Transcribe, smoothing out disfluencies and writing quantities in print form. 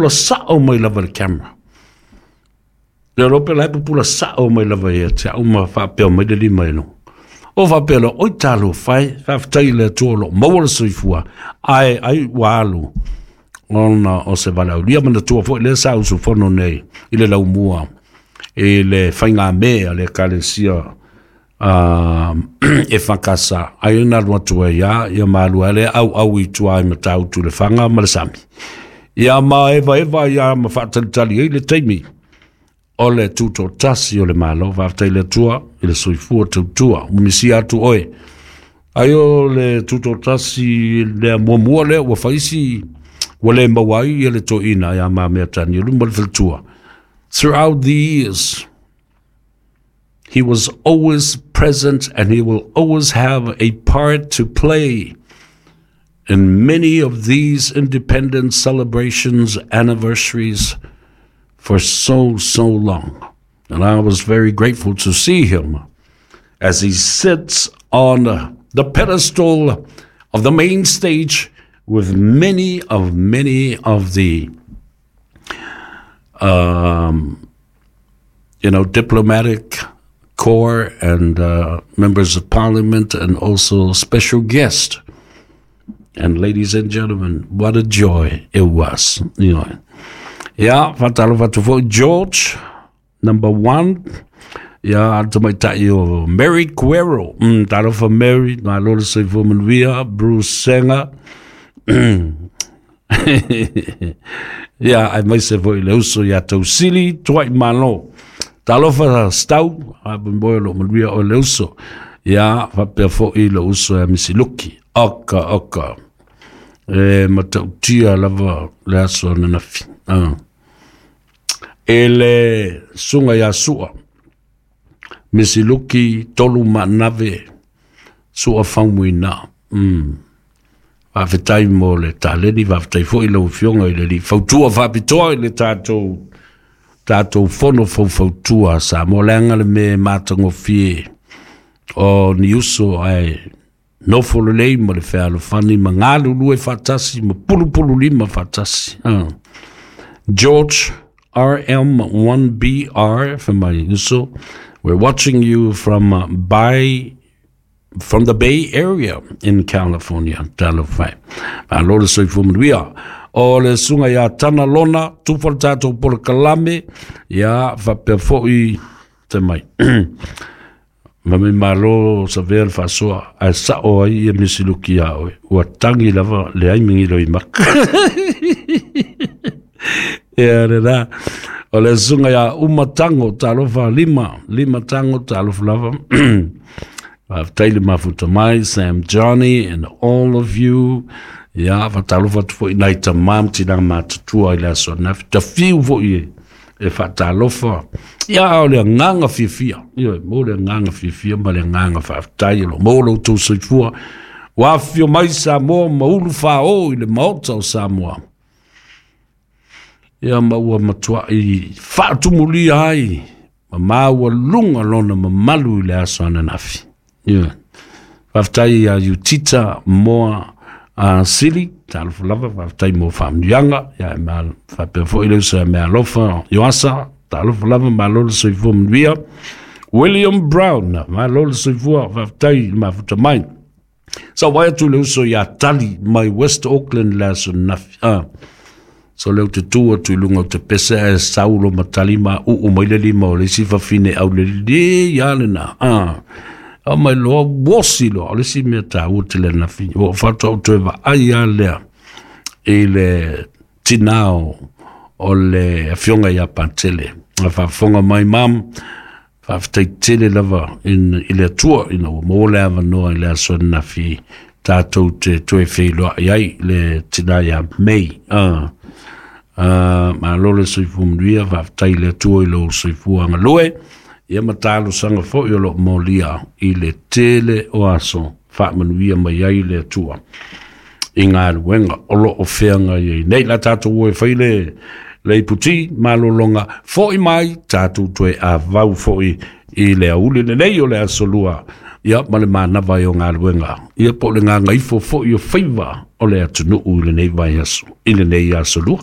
Sao mai lava le camera. Le lope la pupula sao mai lava ia te au ma faapea mai le lima e luga. O faapea loa, oi talofa e, faafetai i le Atua o lo o maua le soifua, ae ai ua alu ona o se valaaulia. Manatua foi lea sa usufono nei i le laumua i le faigamē a le Ekalesia e fakasa ai na alu atu ai a ia malua le au au i tua i Matautu le faga ma le sami. Ia ma eva eva ia ma faatalitali ai le taimi o le tutotasi o le Malo. Faafetai le Atua i le soifua tautua ua misia atu oe. Ai o le tutotasi lea muamua lea ua faisi ua le maua ai ia le toeaina ia Mamea Tanielu ma le faletua. Throughout the years, he was always present and he will always have a part to play in many of these independence celebrations, anniversaries for so, so long. And I was very grateful to see him as he sits on the pedestal of the main stage with many of many of the diplomatic corps and members of parliament and also special guests. And ladies and gentlemen, what a joy it was. Yeah, faatalofa atu foi George, number one. Ia, tamaitai o Mary Cuero. Talofa Mary, malo le soifua manuia, Bruce Senga. Ia, aemaise foi le uso ia Tausili, Tuai Malo. Talofa Stau, a moe o lo manuia o le uso. Ia, faapea foi le uso ia Misiluki. Oka, oka. E matautia lava le aso ananafi. Ah. E le suga ia Sua, Misiluki Tolu Manave, Sua Faumuina. Faafetai mo le taleni, faafetai foi lau afioga i le alii fautua faapitoa i le tatou fono faufautua Samoa, leaga le mea e matagofie o ni uso ae nofo lelei ma le fealofani ma galulue faatasi ma pulupulu lima faatasi. George RM1BR for my uso. We're watching you from the Bay Area in California. Talofa. Malo le soifua manuia. O le suga ia Tana Lona, tufa le tatou polokalame, ia faapea foi te mai. Ma me malo sa vea le faasoa, ae sao ai ia Misiluki ia oe. Ua tagi lava le ai migilo i maka. Ia le la. O le suga ia Uma Tango, talofa lima, lima tango, talofa lava. Faafetai le mafuta mai, Sam Johnny and all of you. Ia, faatalofa atu foi nai tamā ma tinā matutua i le aso ananafi. Tafiu foi e faatalofa. Ia, o le agaga fiafia. Ia, mo le agaga fiafia ma le agaga faafetai o lo maua lo outou soifua. Ua afifio mai Samoa ma ulu fāō i le Maota o Samoa. Ia ma ua matuai faatumulia ai ma maualuga lona mamalu i le aso ananafi. Ia. Faafetai ia Utita Moa Sili, talofa lava, faafetai mo faamanuiaga. Ia e ma faapea foi le uso ia Mealofa Ioasa, talofa lava, malo le soifua manuia. William Brown, malo le soifua, faafetai le mafuta mai. Sa vai atu le uso ia Tali mai West Auckland le aso nafi. Ah. So leo te tu atu i lunga o te pese ae saulo ma tali ma uu mai le lima o le isi fafine au le le ia le na. Ah. Au mai loa wosi loa o le isi mea tāua te le nafi. O whatua o toe vaai a lea i le tinao o le afioga ia Patele. A faafofoga mai mam, faafetai tele lava i le Atua ina ua maua le avanoa i le aso ananafi tatou te toe feiloai ai le tina ia May. Malo le soifua manuia, faafetai i le Atua i lou soifua galue. Ia ma talosaga foi o lo o molia i le tele o aso faamanuia mai ai le Atua i galuega o lo o feagai ai nei. La tatou o e fai le iputi malologa foi mai tatou toe avau foi i le auli lenei o le aso lua ia ma le manava ai o galuega ia po o le gagaifo foi o faiva o le atunuu i lenei vaiaso i lenei aso lua.